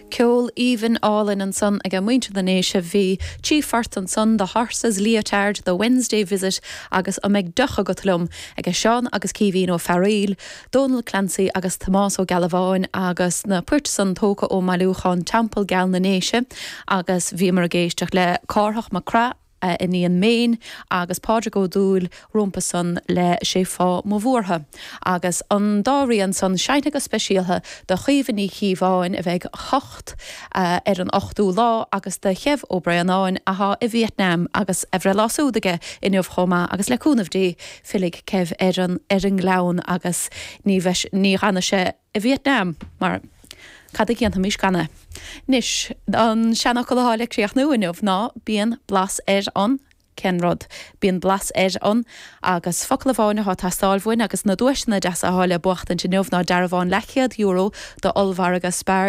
Ceol aoibhinn álainn ansan age muintir na nDéise. Bhí trí phort ansan, The Horses, Leotard, The Wednesday Visit agus An mbeidh deoch agat liom? age Seán agus Caoimhín Ó Fearaíl, Dónal Clancy agus Tomás Ó Gealbháin agus na poirt san tógtha ó mbailiúchán Teampall Geal na nDéise agus bhíomar ag éisteacht le Cárthach Mac Craith, a iníon Méin agus Pádraig Ó Dúill rompu san le Sé Fáth Mo Bhuartha. Agus an dá rian san seinnte go speisialtha do Chaoimhe Ní Chíobháin a bheidh 8 ar an ochtú lá agus do Chev Ó Braonáin athá i Vietnam agus a bhreithlá súd aige inniu chomh maith agus le cúnamh Dé fillfidh Kev ar an ar an nGleann agus ní bheidh ní fhanfaidh sé i Vietnam mar cad a dhéanfaimis gan é? Anois, an seanfhocal atá le críochnú inniu ná bíonn blas ar an, cén rud? Bíonn blas ar an, agus focal amháin atá ag teastáil uainn agus na duaiseanna deasa atá le buachtaint inniu ná dearbhán leathchéad euro d'ollmhargadh Spar.